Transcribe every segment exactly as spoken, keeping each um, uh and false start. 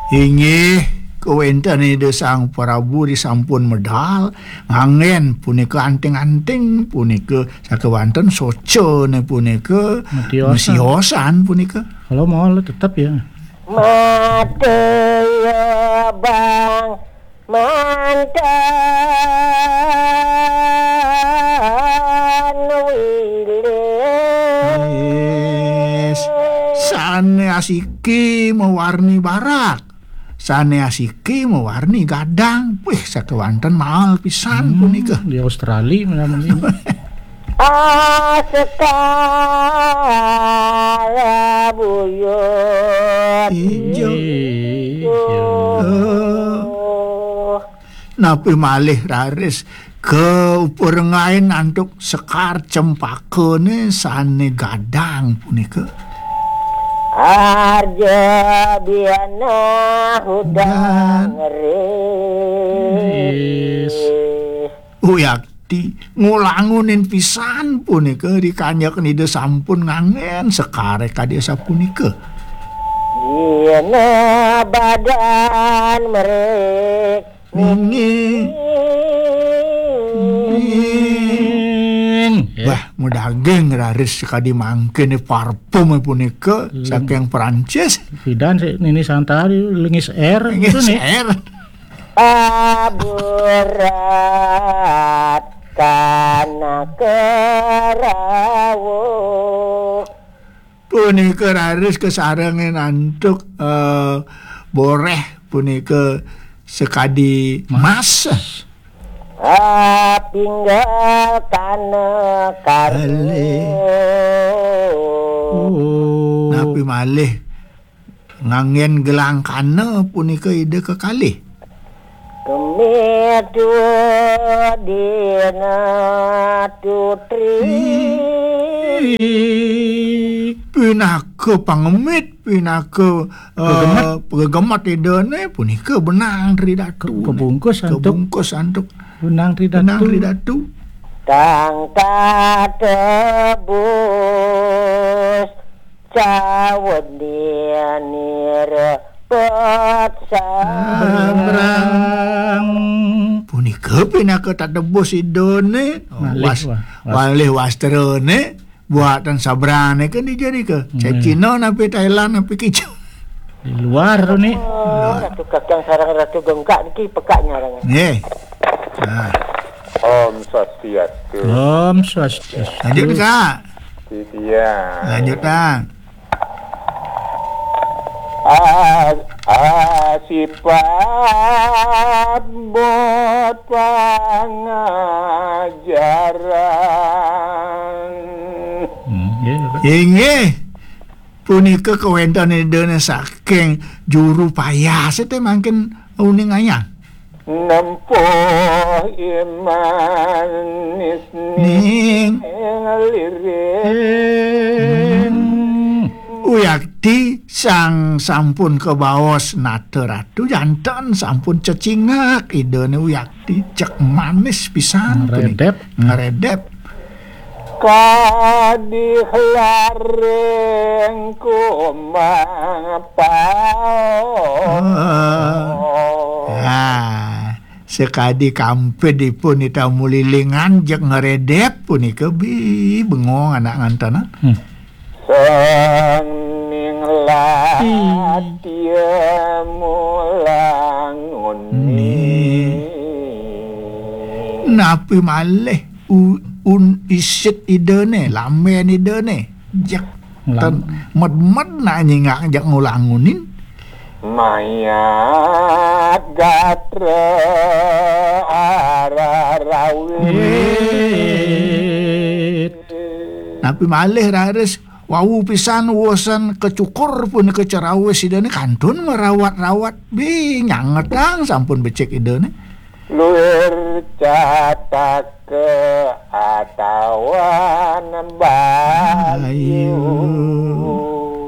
Inggih, kawéntenan Ida Sang Prabu disampun medal, nganggén punika anting-anting, punika sakéwanten socana punika, mesiosan. Mesiosan punika. Kalau mau tetap ya. Mate ya bang mantan wilis. Yes. Sané asiki mawarni barak. Sané asiki mawarni gadang. Wih, sakéwanten mahal pisan. Hmm, punika. Di Australia mana mungkin. Asekala buyut. Ijo. Ijo. Oh. Napi malih raris kauparengain antuk sekar cempakané sané gadang punika. Arja biana hudang ris. Uyakti ngulangunin pisan punika, rikanjak Ida sampun nganggén sekaré kadi sapunika. Dina badan merik. Nggih. Wah, mudaging raris kadi mangkin parfum punika saking Prancis. Pidan sik Nini Santari lengis air. Lengis air. Aburat kana kerawuh. Punika raris kasarengin antuk, eh, boréh punika sakadi mas. Ah, pinggal kana karuh. Kalih. Oh. Napi malih nganggén gelang kana punika Ida kekalih. Kemit dina tutri. Pinaka pangemit, pinaka, eh, gegemet. Gegemet Idané punika benang Tri Datu. Ke-, kebungkus antuk. Kebungkus antuk. Benang Tri Datu. Benang Tri Datu. Tang tatebus cawedanira pet sabrang. Sabrang. Punika pinaka tatebus Idané. Oh, malih was-, wa-, was-, malih wastrané buatan sabrangané kan dijadika. Hmm. Cai Cina napi Thailand napi kicu. Di luar tu ni. Oh, Ratu Kakang sareng Ratu Gengkak niki pekak nyarang. Nggih. Nah. Om Swastiastu. Om Swastiastu. Lanjut, Kak. Titiang. Lanjut, Kang. A-, asipabot pangajaran. Hmm, nggih, Pak. Inggih. Punika kawéntenan Idané saking juru payas, itu mangkin uning ayang. Nempuh iman ning lirik. Hmm. Uyakti sang sampun kabaos nata ratu, janten sampun cecingak Idané Uyakti, cek manis pisan. Ngredep. Ngredep. Kadih laring kumang paos. Ah, sakadi kampid ipun Ida Mulilingan jeg ngredep punika bi bengong anak ngantenan. Hmm. Sang ning latya mulangun. Ni. Napi malih u-, un isit Idané, lambén Idané. Jeg. Ten-, med-med nak nyingak jeg ngulangunin. Mayat gatra ararawit. Wit. Napi malih raris wau pisan wusan kacukur punika cerawis Idané kantun marawat-rawat. Bi nyangetang sampun becik Idané. Luir cataka atawan bayu.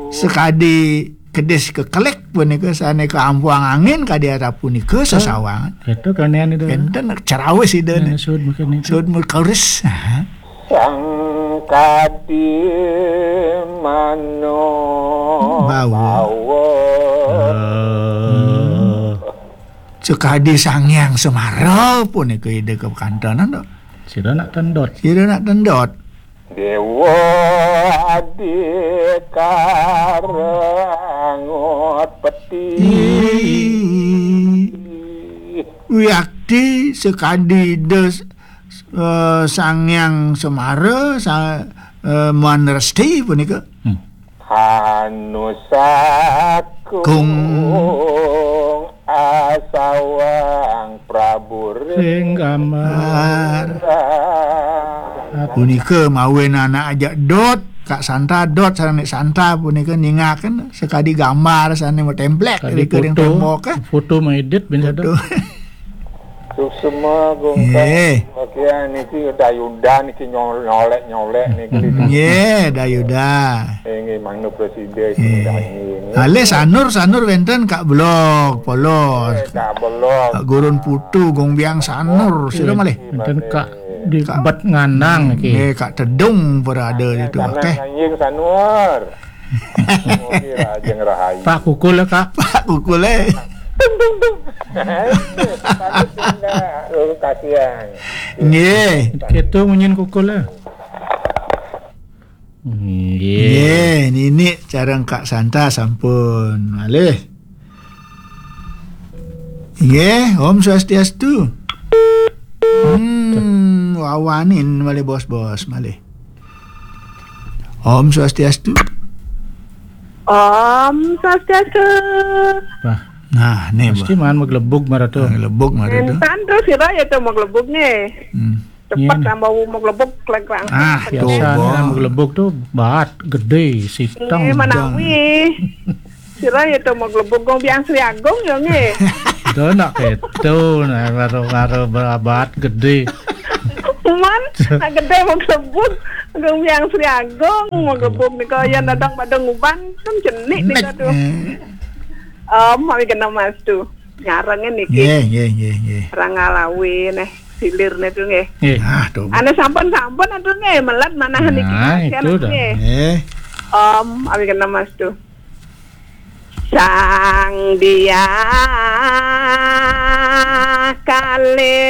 Sakadi kedis kekelik punika sané kaampuang angin kadi asapunika sasawangan. Itu kanéan itu. Enten cerawis Idané. Nah, sud mungkin itu. Sud murkaris. Aha. Sang kadi mano bawa. Bawa. Sakadi Sang Hyang Semara punika Ida kakantenan, to. Sira nak tendot. Sira nak tendot. Dewa Adhikara Angut Peti. Ih. Wiakti sakadi Ida, eh, Sang Hyang Semara, sa-, eh, Muan Resti punika. Hmm. Hanusakung Kung. Asawang Prabu Ring Gambar. Gambar. Punika mawinan anak ajak dot, Kak Santa dot, sareng Nik Santa punika ningaken sakadi gambar sane matemplek. Kadi ring foto, tembok, eh. Foto maedit bin. Foto. Suksma gungkang. Nggih. Bagian niki dayuda niki nyol-, nyolek-nyolek niki. Nggih, dayuda. Inggih, mangda presiden. Nggih. Niki. Alih sanur, sanur wenten Kak Belog, polos. Eh, Kak Belog. Kak Gurun Putu, Gong Biang Sanur, sira malih. Wenten Kak di Kak Bet Nganang niki. Nggih, Kak Tedung parada itu. Nganang, oke. Nganjing sanur. Mugi rajeng rahayu. Pak Kukul ya, Kak. Pak Kukul, eh. Tung, tung, tung. Patut enggak, oh, kasihan. Nggih. Gitu munyin kukul ya. Nggih. Nggih, nini sareng Kak Santa sampun malih. Nggih, Om Swastiastu. Hmm, wawanin malih bos-bos malih. Om Swastiastu. Om Swastiastu. Wah. Nah, nih, mesti Bah. Man maglebug maratu. Maglebug maratu. Entan terus sira ya to maglebug nih. Hmm. Cepet. Iya, nih. Tambah maglebug klegrang. Ah, biasa nih, maglebug tuh baat gede, siteng. Nggih, menawi. Sira ya to maglebug Gong Biang Sri Agung ya nggih. Dah nak keto, nah, karo-karo baat gede. Cuman, nak gede maglebug Gong Biang Sri Agung, maglebug nika ya dadang pada nguban, kan cenik nika tuh. Eh. Om, awi kena mas tuh. Nyarengin niki. Nggih, nggih, nggih, nggih. Rangalawi neh, silirne tuh nggih. Nggih. Ah, tuh. Ane sampun-sampun atuh nggih, melet manah niki. Nah, kasihan itu dah. Nggih. Om, awi kena mas tuh. Sang Dia Kali